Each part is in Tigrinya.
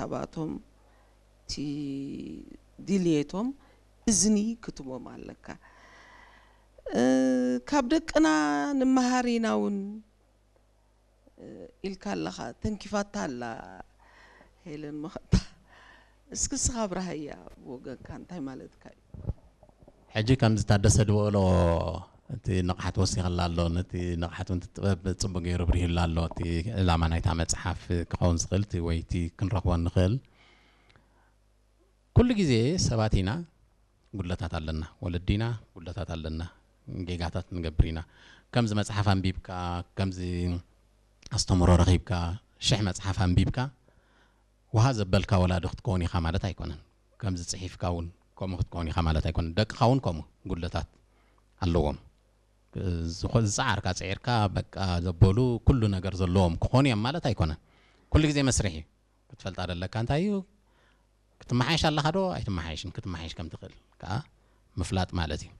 ሓሳባቶም፣ እቲ ድልየቶም እዝኒ ክትቦም ኣለካ። እ፣ ካብ ደቅና ንመሃር ኢና እውን፣ እ፣ ኢልካ ኣለኻ። ተንኪፋታ ኣላ ሄለን መኸታ። እስኪ እስኻ ኣብርሃያ ብወገንካ እንታይ ማለትካ እዩ? ሕጂ ከምዚ ታደሰ ዝበሎ እቲ ንቕሓት ወሲኸላ ኣሎ። ነቲ ንቕሓት እውን እቲ ጥበብ ጽቡቕ ገይሩ ብሪህላ ኣሎ። እቲ ዕላማ ናይታ መጽሓፍ ክኸውን ዝኽእል እቲ ወይ እቲ ክንረኽቦ ንኽእል። ኩሉ ግዜ ሰባት ኢና፣ ጉድለታት ኣለና። ወለዲ ኢና፣ ጉድለታት ኣለና። ጌጋታት ንገብር ኢና። ከምዚ መጽሓፍ ኣንቢብካ፣ ከምዚ ኣስተምህሮ ረኺብካ፣ ሽሕ መጽሓፍ ኣንቢብካ፣ ውሃ ዘበልካ ወላዲ ክትከውን ኢኻ ማለት ኣይኮነን። ከምዚ ጽሒፍካ እውን ከምኡ ክትከውን ኢኻ ማለት ኣይኮነን። ደቅኻ እውን ከምኡ ጉድለታት ኣለዎም። ዝኾ-፣ ዝጸዓርካ ጽዒርካ፣ በቃ ዘበሉ ኩሉ ነገር ዘለዎም ክኾኑ እዮም ማለት ኣይኮነን። ኩሉ ግዜ መስርሕ እዩ። ክትፈልጣ ደለካ እንታይ እዩ? ክትመሓየሽ ኣለኻ ዶ ኣይትመሓየሽን? ክትመሓየሽ ከም ትኽእል ከኣ ምፍላጥ ማለት እዩ።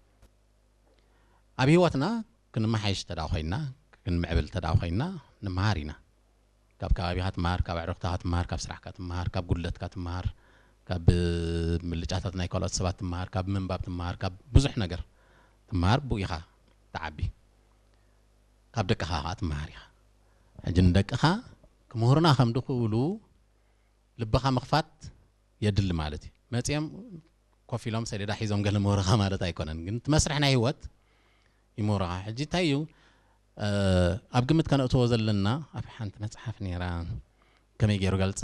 ኣብ ህይወትና ክንመሓየሽ እንተ ደኣ ኮይንና፣ ክንምዕብል እንተ ደኣ ኮይንና፣ ንምሃር ኢና። ካብ ከባቢኻ ትመሃር፣ ካብ ኣዕሩኽትኻ ትመሃር፣ ካብ ስራሕካ ትመሃር፣ ካብ ጉድለትካ ትመሃር፣ ካብ ምልጫታት ናይ ካልኦት ሰባት ትመሃር፣ ካብ ምንባብ ትመሃር፣ ካብ ብዙሕ ነገር ትመሃር፣ ብኡ ኢኻ ትዓቢ። ካብ ደቅኻ ኸኣ ትመሃር ኢኻ። ሕጂ ንደቅኻ ክምህሩና ከም ድኽእሉ ልብኻ ምኽፋት የድሊ ማለት እዩ። መጺኦም ኮፍ ኢሎም ሰሌዳ ሒዞም ገለ ምህሩኻ ማለት ኣይኮነን፣ ግን እቲ መስርሕ ናይ ህይወት ይምህሩኻ። ሕጂ እንታይ እዩ፣ እ፣ ኣብ ግምት ከነእትዎ ዘለና፣ ኣብ ሓንቲ መጽሓፍ ነይራ፣ ከመይ ገይሩ ገልጻ፣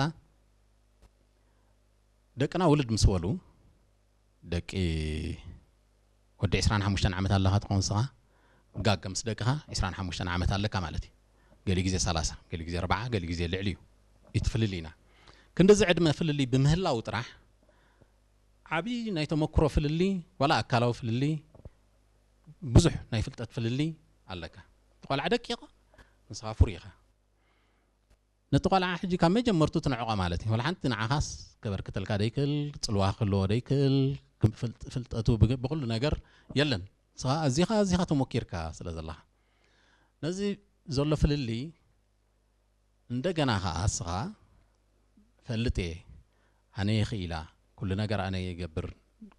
ደቅና ውልድ ምስ በሉ፣ ደቂ ወዲ ዕስራን ሓሙሽተን ዓመት ኣለኻ ትኸውን ንስኻ፣ ጋገ ምስ ደቅኻ ዕስራን ሓሙሽተን ዓመት ኣለካ ማለት እዩ። ገሊኡ ግዜ ሰላሳ፣ ገሊኡ ግዜ ኣርብዓ፣ ገሊኡ ግዜ ልዕሊ እዩ። እቲ ፍልልይና ክንድዚ ዕድመ ፍልልይ ብምህላው ጥራሕ ዓብዪ ናይ ተመክሮ ፍልልይ፣ ዋላ ኣካላዊ ፍልልይ፣ ብዙሕ ናይ ፍልጠት ፍልልይ ኣለካ። እቲ ቆልዓ ደቂቕ፣ ንስኻ ፍሩይ ኢኻ። ነቲ ቆልዓ ሕጂ ካብ መጀመርቱ ትንዕቆ ማለት እዩ። ወላ ሓንቲ ንዓኻስ ከበርክተልካ ደይክእል፣ ጽልዋ ክህልዎ ደይክእል፣ ክም-፣ ፍልጥ-፣ ፍልጠቱ ብግ-፣ ብኹሉ ነገር የለን። ንስኻ ኣዚኻ፣ ኣዚኻ ተሞኪርካ ስለ ዘለኻ። ነዚ ዘሎ ፍልልይ እንደገና ኸኣ እስኻ ፈልጥ እየ፣ ኣነ እየ ክኢላ፣ ኩሉ ነገር ኣነ እየ ይገብር፣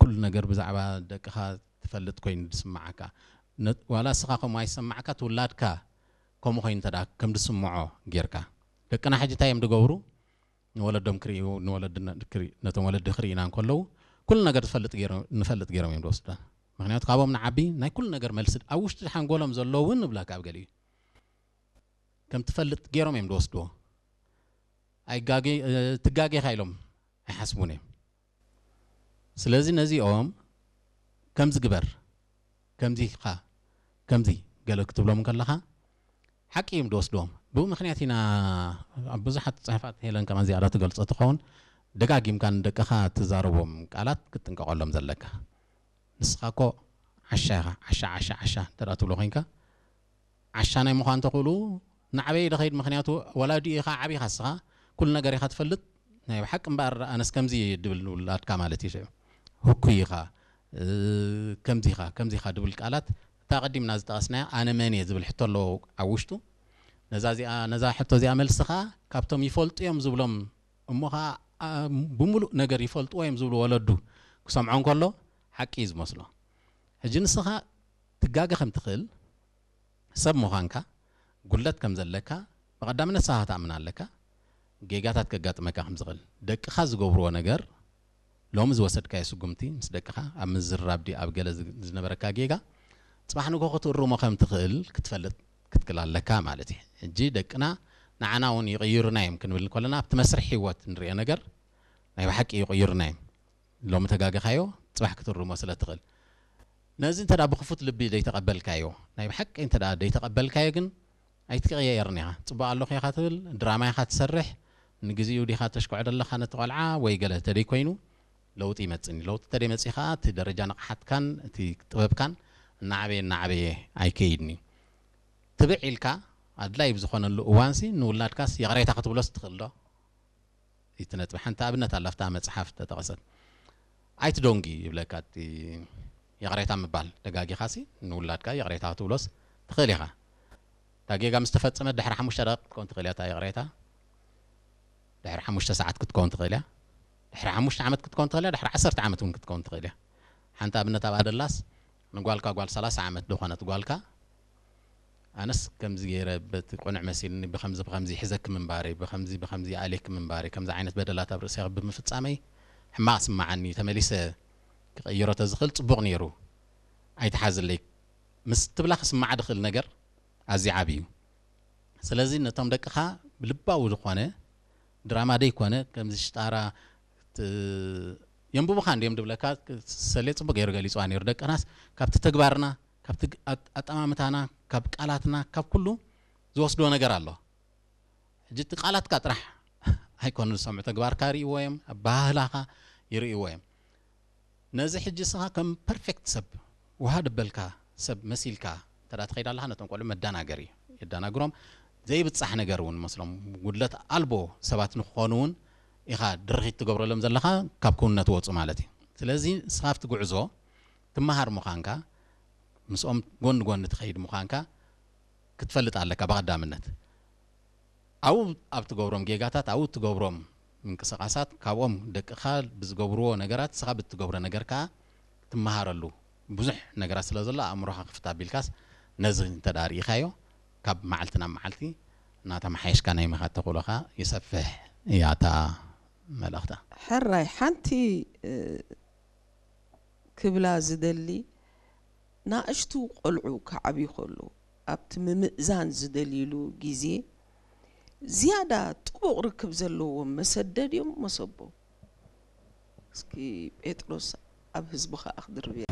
ኩሉ ነገር ብዛዕባ ደቅኻ ትፈልጥ ኮይኑ ዝስምዓካ፣ ነ-፣ ዋላ እስኻ ከምኡ ኣይሰማዕካ፣ ትውላድካ ከምኡ ኮይኑ እንተ ደኣ ከም ዝስምዖ ጌርካ። ደቅና ሕጂ እንታይ እዮም ዝገብሩ? ንወለዶም ክርእዩ፣ ንወለዲ ነ-፣ ክርኢ-፣ ነቶም ወለዲ ክርእዩና እንከለዉ፣ ኩሉ ነገር ዝፈልጥ ገይሮም፣ ንፈልጥ ገይሮም እዮም ዝወስዱና። ምኽንያቱ ካብኦም ንዓቢ ናይ ኩሉ ነገር መልሲ ኣብ ውሽጢ ሓንጎሎም ዘሎ እውን ንብለካ ኣብ ገሊኡ። ከም ትፈልጥ ገይሮም እዮም ዝወስድዎ። ኣይጋገ-፣ እ፣ ትጋጌኻ ኢሎም ኣይሓስቡን እዮም። ስለዚ ነዚኦም ከምዚ ግበር፣ ከምዚ ኢኻ፣ ከምዚ ገለ ክትብሎም ከለኻ ሓቂ እዮም ዝወስድዎም። ብኡ ምኽንያት ኢና ኣብ ብዙሓት ጽሑፋት ሄለን ከማን ዝያዳ ትገልጾ ትኸውን፣ ደጋጊምካ ንደቅኻ ትዛረቦም ቃላት ክትጥንቀቐሎም ዘለካ። ንስኻ እኮ ዓሻ ኢኻ፣ ዓሻ፣ ዓሻ፣ ዓሻ እንተ ደኣ ትብሎ ኮይንካ፣ ዓሻ ናይ ምዃን ተኽእሉ ናዕበይ ዶ ኸይድ? ምኽንያቱ ወላዲኡ ኢኻ፣ ዓቢ ኢኻ እስኻ፣ ኩሉ ነገር ኢኻ ትፈልጥ። ናይ ብሓቂ እምበኣር ኣነስ ከምዚ እየ ድብል ንውላድካ ማለት እዩ። ሽዑ ህኩይ ኢኻ፣ እ፣ ከምዚ ኢኻ፣ ከምዚ ኢኻ ድብል ቃላት፣ እታ ቀዲምና ዝጠቐስናያ ኣነ መን እየ ዝብል ሕቶ ኣለዎ ኣብ ውሽጡ። ነዛ እዚኣ፣ ነዛ ሕቶ እዚኣ መልሲ ኸኣ ካብቶም ይፈልጡ እዮም ዝብሎም፣ እሞ ኸኣ፣ ኣ፣ ብምሉእ ነገር ይፈልጥዎ እዮም ዝብሉ ወለዱ ክሰምዖ እንከሎ ሓቂ እዩ ዝመስሎ። ሕጂ ንስኻ ትጋገ ከም ትኽእል፣ ሰብ ምዃንካ፣ ጉድለት ከም ዘለካ ብቐዳምነት ንስኻ ክትኣምን ኣለካ። ጌጋታት ከጋጥመካ ከም ዝኽእል፣ ደቅኻ ዝገብርዎ ነገር፣ ሎሚ ዝወሰድካዮ ስጉምቲ ምስ ደቅኻ ኣብ ምዝርራብ ድዩ ኣብ ገለ ዝ-፣ ዝነበረካ ጌጋ፣ ጽባሕ ንግሆ ክትእርሞ ከም ትኽእል ክትፈልጥ ክትክእል ኣለካ ማለት እዩ። ሕጂ ደቅና ንዓና እውን ይቕይሩና እዮም ክንብል እንከለና፣ ኣብቲ መስርሕ ህይወት ንርእዮ ነገር ናይ ብሓቂ ይቕይሩና እዮም። ሎሚ ተጋገኻዮ፣ ጽባሕ ክትእርሞ ስለ ትኽእል። ነዚ እንተ ደኣ ብኽፉት ልቢ ዘይተቐበልካዮ፣ ናይ ብሓቂ እንተ ደኣ ዘይተቐበልካዮ ግን ኣይትቀየርን ኢኻ። ጽቡቕ ኣለኹ ኢኻ ትብል፣ ድራማ ኢኻ ትሰርሕ፣ ንግዚኡ ዲኻ ተሽኩዕዶ ኣለኻ ነቲ ቆልዓ ወይ ገለ ተደይ ኮይኑ፣ ለውጢ ይመጽእኒ። ለውጢ ተደይ መጺኡ ኸኣ እቲ ደረጃ ንቕሓትካን እቲ ጥበብካን እናዓበየ እናዓበየ ኣይከይድን እዩ። ትብዕ ኢልካ ኣድላይ ብዝኾነሉ እዋንሲ ንውላድካስ ይቕሬታ ክትብሎስ ትኽእል ዶ? እቲ ነጥቢ ሓንቲ ኣብነት ኣላ፣ ኣብታ መጽሓፍ ተጠቐሰት። ኣይትደንጉ ይብለካ፣ እቲ ይቕሬታ ምባል። ደጋጊኻሲ ንውላድካ ይቕሬታ ክትብሎስ ትኽእል ኢኻ። እታ ጌጋ ምስ ተፈጸመት ድሕሪ ሓሙሽተ ደቂቕ ክትከውን ትኽእል እያ እታ ይቕሬታ። ድሕሪ ሓሙሽተ ሰዓት ክትከውን ትኽእል እያ። ድሕሪ ሓሙሽተ ዓመት ክትከውን ትኽእል እያ። ድሕሪ ዓሰርተ ዓመት እውን ክትከውን ትኽእል እያ። ሓንቲ ኣብነት ኣብኣ ደላስ፣ ንጓልካ፣ ጓል ሰላሳ ዓመት ዝኾነት ጓልካ፣ ኣነስ ከምዚ ገይረ በቲ ቅኑዕ መሲልኒ ብኸምዚ ብኸምዚ ይሕዘኪ ምንባረይ፣ ብኸምዚ ብኸምዚ ይኣልየኪ ምንባረይ፣ ከምዚ ዓይነት በደላት ኣብ ርእሰይ ብምፍጻመይ ሕማቕ ስምዓኒ፣ ተመሊሰ ክቕይሮ ተዝኽእል ጽቡቕ ነይሩ፣ ኣይትሓዝለይ ምስ ትብላ ክስምዓ ድኽእል ነገር ኣዝዩ ዓቢ እዩ። ስለዚ ነቶም ደቅኻ ብልባዊ ዝኾነ፣ ድራማ ደይኮነ፣ ከምዚ ሽጣራ ት-፣ የንብቡኻ እንድዮም ድብለካ፣ ሰሌ ጽቡቕ ገይሩ ገሊጽዋ ነይሩ። ደቅናስ ካብቲ ተግባርና፣ ካብቲ ግ-፣ ኣጥ-፣ ኣጠማምታና፣ ካብ ቃላትና፣ ካብ ኩሉ ዝወስድዎ ነገር ኣሎ። ሕጂ እቲ ቃላትካ ጥራሕ ኣይኮኑ ዝሰምዑ፣ ተግባርካ ይርእይዎ እዮም፣ ኣበሃህላኻ ይርእይዎ እዮም። ነዚ ሕጂ እስኻ ከም ፐርፌክት ሰብ፣ ውሃ ደበልካ ሰብ መሲልካ እንተ ደኣ ትኸይድ ኣለኻ፣ ነቶም ቆልዑ መደናገሪ እዩ። የደናግሮም፣ ዘይብጻሕ ነገር እውን መስሎም፣ ጉድለት ኣልቦ ሰባት ንክኾኑ እውን ኢኻ ድርኺት ትገብረሎም ዘለኻ፣ ካብ ክውንነት ወጹ ማለት እዩ። ስለዚ ንስኻ ኣብቲ ጉዕዞ ትመሃር ምዃንካ፣ ምስኦም ጎኒ ጎኒ ትኸይድ ምዃንካ ክትፈልጥ ኣለካ ብቐዳምነት። ኣብኡ ኣብ ትገብሮም ጌጋታት፣ ኣብኡ እትገብሮም ምንቅስቓሳት፣ ካብኦም ደቅኻ ብዝገብርዎ ነገራት፣ ንስኻ ብትገብሮ ነገር ከኣ ትመሃረሉ ብዙሕ ነገራት ስለ ዘሎ፣ ኣእምሮኻ ክፍት ኣቢልካስ ነዚ እንተ ደኣ ርኢኻዮ፣ ካብ መዓልቲ ናብ መዓልቲ እናተመሓየሽካ ናይ ምኻድ ተኽእሎኻ ይሰፍሕ እያ እታ መልእኽታ። ሕራይ፣ ሓንቲ፣ እ፣ ክብላ ዝደሊ፣ ናእሽቱ ቆልዑ ክዓብዩ ከለዉ፣ ኣብቲ ምምእዛን ዝደልይሉ ግዜ፣ ዝያዳ ጥቡቕ ርክብ ዘለዎም መሰደድ እዮም መሰቦም። እስኪ ጴጥሮስ ኣብ ህዝቢ ከኣ ክድርብ እየ።